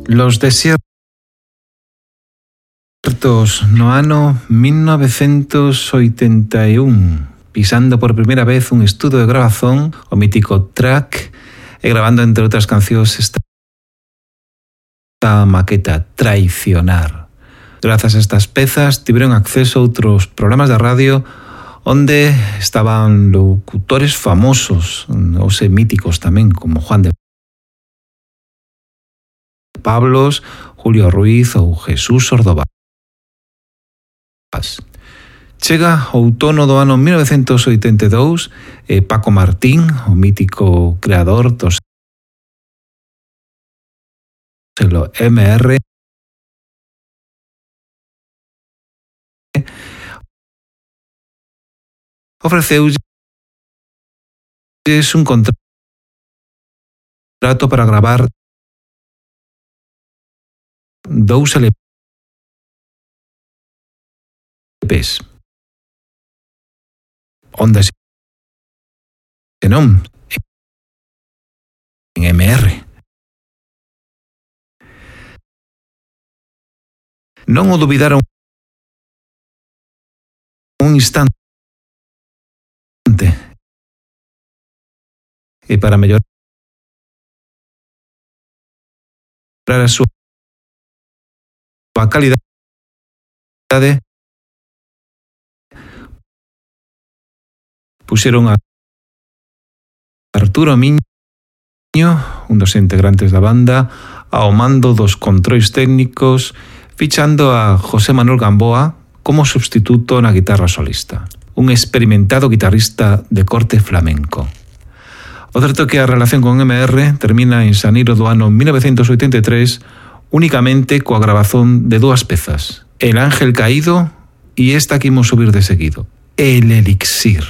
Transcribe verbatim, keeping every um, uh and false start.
Los desiertos no ano mil novecientos oitenta e un, pisando por primeira vez un estudo de grabación, o mítico track, e grabando entre outras cancións esta maqueta Traicionar. Grazas a estas pezas tiveron acceso a outros programas de radio onde estaban locutores famosos, ou se míticos tamén, como Juan de Pablos, Julio Ruiz ou Jesús Ordovás. Chega o outono do ano mil novecientos oitenta e dous e Paco Martín, o mítico creador do selo M R, ofreceulles un contrato para gravar dous L Ps. Onde se non en M R. Non o dubidaron un instante. E para mellorar a súa calidade, puxeron a Arturo Miño, un dos integrantes da banda, ao mando dos controis técnicos, fichando a José Manuel Gamboa como substituto na guitarra solista, un experimentado guitarrista de corte flamenco. O certo é que a relación con M R termina en xaneiro do ano mil novecientos oitenta e tres únicamente coa grabazón de dúas pezas, El Ángel Caído e esta que imos subir de seguido, El Elixir.